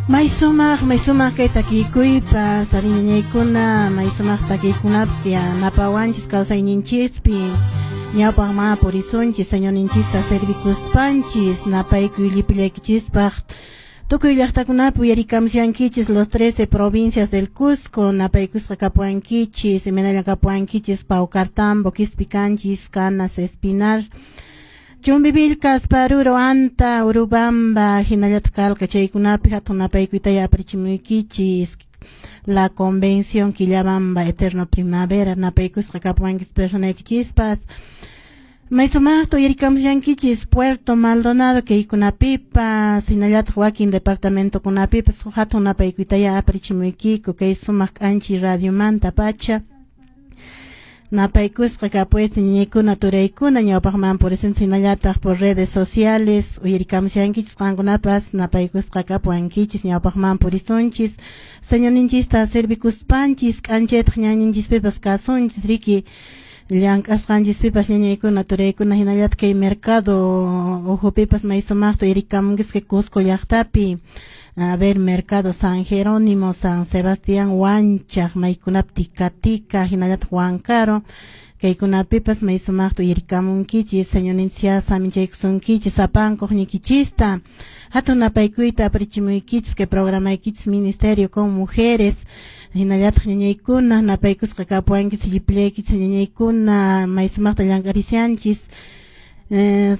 May sumaq kay takikuypas, ñañaykuna, may sumaq takiykunapas yanapawanchis kawsayninchispi. Ñawpaq ma purisunchis, Señorninchista servikuspanchis, napaykuy llipillaykichispaq. Tukuy llaqtakunapi uyarikamushankichis los 13 provincias del Cusco, napaykusqa kapuankichis, imaynalla kapuankichis, Paucartambo, Quispicanchis, Canas, Espinar, Chumbivilcas, Paruro, Anta, Urubamba, hinallataq Calca, chaykunapi hatun napaykuytaya aparichimuykichis. La Convención Quillabamba, Eterno Primavera, napaykusqa kapuankichis personaykichispas. May sumaqta uyarikamushankichis Puerto Maldonado kaykunapipas, hinallataq wakin departamentokunapipas hatun napaykuytaya aparichimuykiku kay sumaq k'anchi radiomanta pacha. Napaykusqa kapues ñañaykuna turaykuna ñawpaqman purisunchis hinallataq por redes sociales uyarikamushankichis qankunapas napaykusqa kapuankichis ñawpaqman purisunchis Señorninchista servikuspanchis k'anchaytaq ñañanchispipas kasunchis riki llank'asqanchispipas ñañaykuna turaykuna hinallataq kay mercado uhupipas may sumaqta uyarikamunkisqa Cusco llaqtapi. A ver, Mercado San Jerónimo, San Sebastián, Huanchaq, maykunapi Tika Tika, hinallataq Huancaro, kaykunapipas may sumaqta uyarikamunkichis, Señorninchis saminchaykusunkichis, sapankuq ñikichista. Hatun napaykuyta aparichimuykichis kay programaykichis Ministerio con Mujeres, hinallataq ñañaykuna, napaykusqa kapuankichis, llipillaykichis ñañaykuna, may sumaqta llank'arishanchis.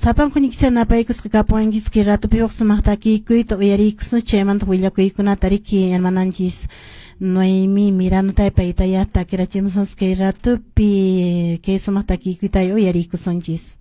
Sapanku ñikisha napaykusqa kapuankichis kay ratupi huk sumaq takiykuyta uyariykusun chaymanta willakuykunata riki hermananchis Noemi Miranda paytaya takirachimusunchis kay ratupi kay sumaq takiykuyta uyariykusunchis.